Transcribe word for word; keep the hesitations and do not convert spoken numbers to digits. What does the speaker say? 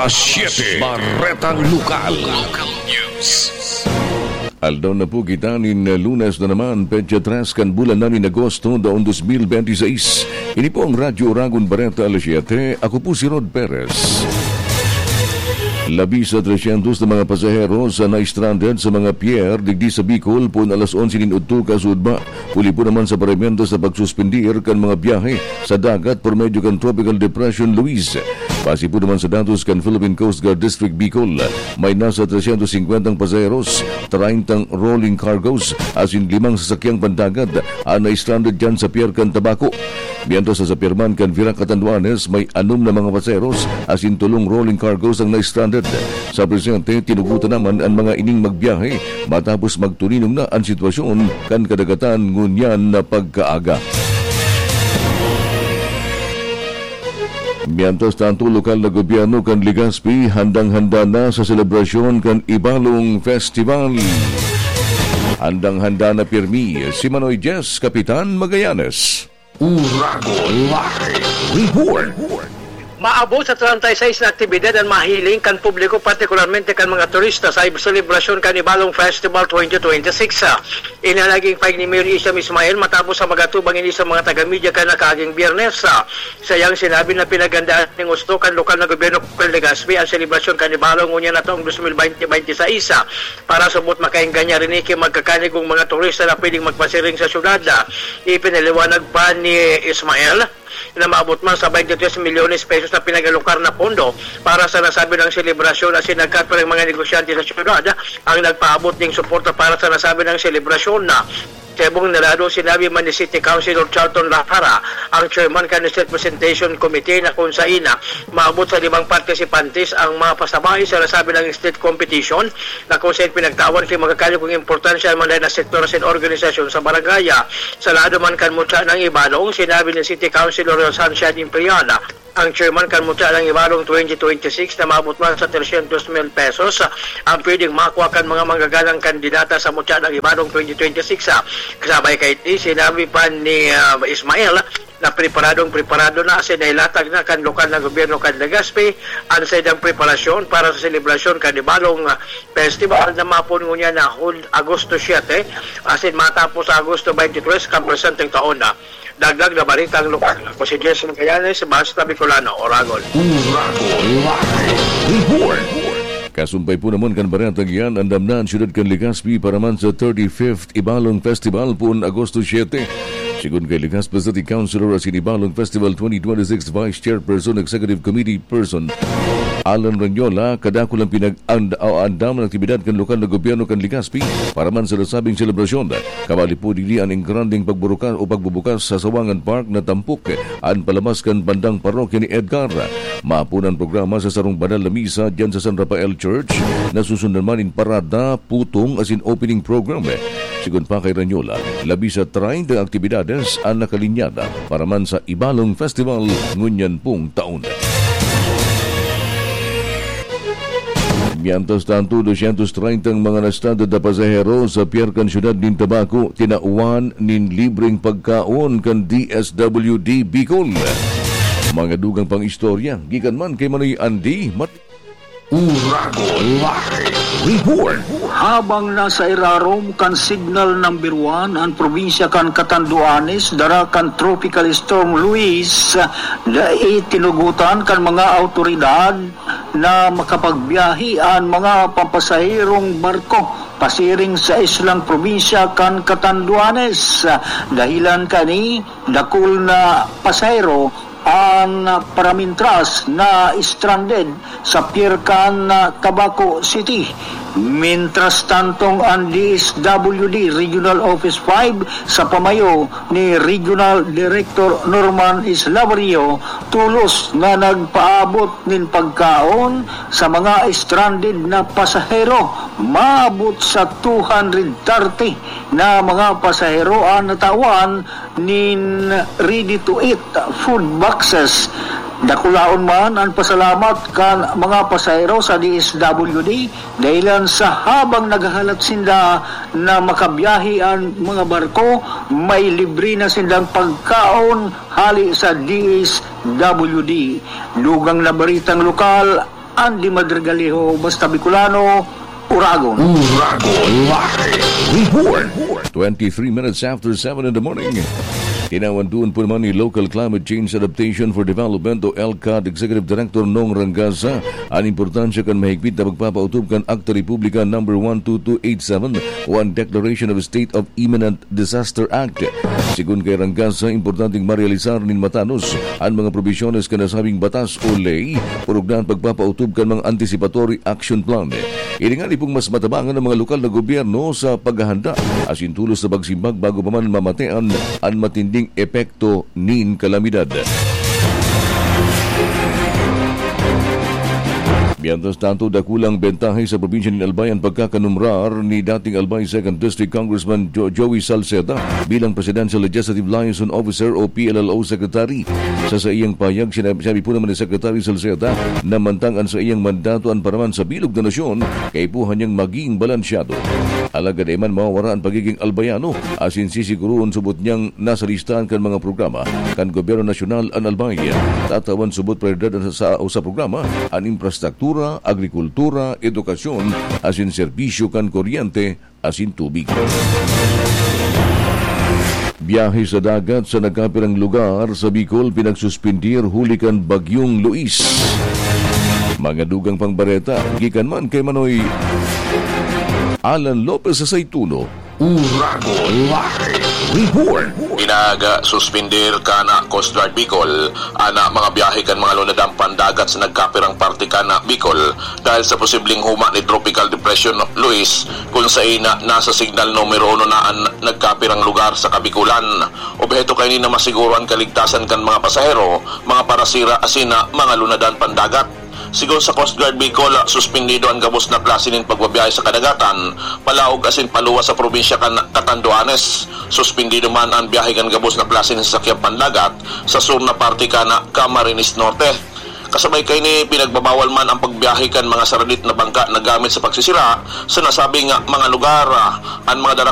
Alas siyete, Baretang Lokal. Aldaw na po kita nin Lunes na naman, petsa tres kan bulan na nin Agosto, taon dos mil benti seis. Ini po ang Radyo Oragon Bareta Alas siyete. Ako po si Rod Perez. Labi sa tresyentos na mga pasahero sa na-stranded sa mga pier digdi sa Bicol, poon alas onse nin udto kasuodma. Huli po naman sa parimento sa pagsuspendir kan mga biyahe sa dagat por medyo kan Tropical Depression Luis. Base po naman sa datos kan Philippine Coast Guard District Bicol, may nasa tresyentos singkwentang pasaheros, treyntang rolling cargos, asin limang sasakyang pandagat an na-stranded diyan sa pier kan Tabaco. Mientras sa pier man kan Virac Catanduanes, may anom na mga pasaheros asin tolong rolling cargos ang na-stranded. Sa presente, tinugutan naman an mga ining magbiyahe matapos magtuninong na an sitwasyon kan kadagatan ngunyan na pagkaaga. Mientras tanto, lokal na gobyerno kan Legazpi handang-handa na sa selebrasyon kan Ibalong Festival. Handang-handa na pirmi si Manoy Jess, Kapitan Magallanes. Uragon Live Report. Maabot sa treinta y seis na aktibidad an mahiling kan publiko, partikularmente kan mga turista, sa selebrasyon kan Ibalong Festival twenty twenty-six. Ini an naging pahayag ni Mayor Isham Ismail matapos sa mag-atubang ini sa mga taga-media kan nakaaging Biyernes. Sa iyang sinabi na pinaghandaan nin husto kan lokal na gobyerno kan Legazpi an selebrasyon kan Ibalong ngunyan na taong dos mil benti benti sais. Para sabot makaengganyan rini ki magkakanigong mga turista na pwedeng magpasiring sa syudad. Ipinaliwanag pa ni Ismael na maabot man sa twenty-three milyones pesos na pinag-alokar na pondo para sa nasabing selebrasyon, asin nagkatuloy mga negosyante sa syudad ang nagpaabot ning suporta para sa nasabing selebrasyon. Sa ibong narado, sinabi man ni City Councilor Charlton Lahara, ang chairman kan Street Presentation Committee, na kung sain na maabot sa limang partisipantes ang mga pasabay sa nasabing street competition, na kung sain pinagtawan ki magkakanigong importansya an mga sektor asin organisasyon sa barangay. Sa lado man kan mutya kan Ibalong, sinabi ni City Councilor Sunshine Impriana, ang chairman kan mutya kan Ibalong twenty twenty-six, na maabot man sa tresyentos mil pesos ang pwedeng makua kan mga manggagalang kandidata sa mutya kan Ibalong twenty twenty-six. Kasabay kaini, sinabi pa ni, ah, Ismael na preparadong-preparado na asin nailatag na kan lokal na gobyerno kan Legazpi an saindang preparasyon para sa selebrasyon kan Ibalong, ah, Festival na mapoon ngunyan na Hul-, Agosto siete asin matapos sa Agosto twenty-three kan presenteng taon na. Dagdag na baretang lokal. Ako si Jess Magallanes, Basta Bicolano, Oragon. Uragon Live Report. Kasumpay po naman kan baretang iyan, andam na an syudad kan Legazpi para man sa thirty-fifth Ibalong Festival poon Agosto siete. Sigon kay Legazpi City Councilor asin Ibalong Festival twenty twenty-six Vice Chairperson Executive Committee Person Alan Ranyola, kadakul ang pinag-, and-, o andam na aktibidad kan lokal na gobyerno kan Legazpi para man sa nasabing selebrasyon. Kabali po digdi an engrandeng pagburuka-, o pagbubukas sa Sawangan Park na tampok an palabas kan bandang parokya ni Edgar. Maapon an programa sa sarong banal na misa diyan sa San Rafael Church, na susundan man nin parada, putong asin opening program. Sigon pa kay Ranyola, labi sa treinta aktibidades an nakalinyada para man sa Ibalong Festival ngunyan pong taon. Mientras tanto, dosyentos treinta ang mga na-stranded na pasahero sa pier kan siyudad nin Tabaco, tinawan nin libreng pagkaon kan D S W D Bicol. Mga dugang pang istorya, gikan man kay Manoy Andy Mat- Uragon Live Report. Habang nasa irarom kan Signal Number One an probinsya kan Catanduanes, dara kan Tropical Storm Luis, dai tinugotan kan mga awtoridad na makapagbiyahe an mga pampasaherong barko pasiring sa islang probinsya kan Catanduanes. Dahilan kani, dakul na pasahero an paramintras na stranded sa pier kan Tabaco City. Mientras tantong an D S W D Regional Office five sa pamayo ni Regional Director Norman Islaverio tolos na nagpaabot nin pagkaon sa mga stranded na pasahero. Maabot sa two hundred thirty na mga pasahero an natawan nin ready-to-eat food boxes. Dakulaon man an pasalamat kan mga pasahero sa D S W D dahilan sa habang naghahalat sinda na makabiyahe an mga barko, may libre na sindang pagkaon hali sa D S W D. Dugang na baritang lokal, Andy Madrigaliho, basta Bicolano, Uragon. Uragon Live Report. Twenty-three minutes after seven in the morning. Tinawan duon po naman ni Local Climate Change Adaptation for Development o LCAD Executive Director Nong Rangasa an importansya kan mahigpit na pagpapautob kan Akta Republika number one two two eight seven o an Declaration of State of Imminent Disaster Act. Sigon kay Rangasa, importanteng marealisar nin matanos an mga probisyones kan nasabing batas o ley, purugna an pagpapautob kan mga anticipatory action plan. Hilingan ni pong mas matabangan ang mga lokal na gobyerno sa paghahanda asin tulos na pagsimbag bago pa man mamatean an matinding epekto nin kalamidad. Mientras tanto, dakulang bentahe sa probinsya nin Albay an pagkakanumerar ni dating Albay Second District Congressman Jo-, Joey Salceda bilang Presidential Legislative Liaison Officer o P L L O Secretary. Sa saiyang pahayag, sinabi, sinabi po naman ni Secretary Salceda na mantang an saiyang mandato an paraman sa bilog na nasyon, kaipuhan niyang maging balansyado. Alagad dai man mawawara an pagiging Albayano, asin sisiguroon subot niyang nasa listahan kan mga programa kan gobyerno nasyonal an Albay. Tatawan subot prioridad sa, sa, sa programa an infrastruktura, agrikultura, edukasyon, asin serbisyo kan kuryente asin tubig. Biyahe sa dagat sa nagkapirang lugar sa Bicol pinagsuspindir huli kan Bagyong Luis. Mga dugang pang bareta, gikan man kay Manoy Alan Lopez sa Saituno. Uragon Live Report. Pinag-suspindir kan Coast Guard Bicol an mga biyahe kan mga lunadang pandagat sa nagkapirang parte kan Bicol dahil sa posibleng huma ni Tropical Depression Luis, kun saen na nasa signal numero uno na an nagkapirang lugar sa Kabikulan. Obheto kaini na masiguro an kaligtasan kan mga pasahero, mga parasira asin mga lunadan pandagat. Sigon sa Coast Guard Bicol, suspindido an gabos na klase nin pagbabiyahe sa kadagatan, palaog asin paluwas sa probinsya kan Catanduanes. Suspindido man an biyahe kan gabos na klase nin sasakyang pandagat sa sur na parte kan Camarines Norte. Kasabay kaini, pinagbabawal man ang pagbiyahe kan mga saradit na bangka na gamit sa pagsisira sa nasabing mga lugar. An mga dara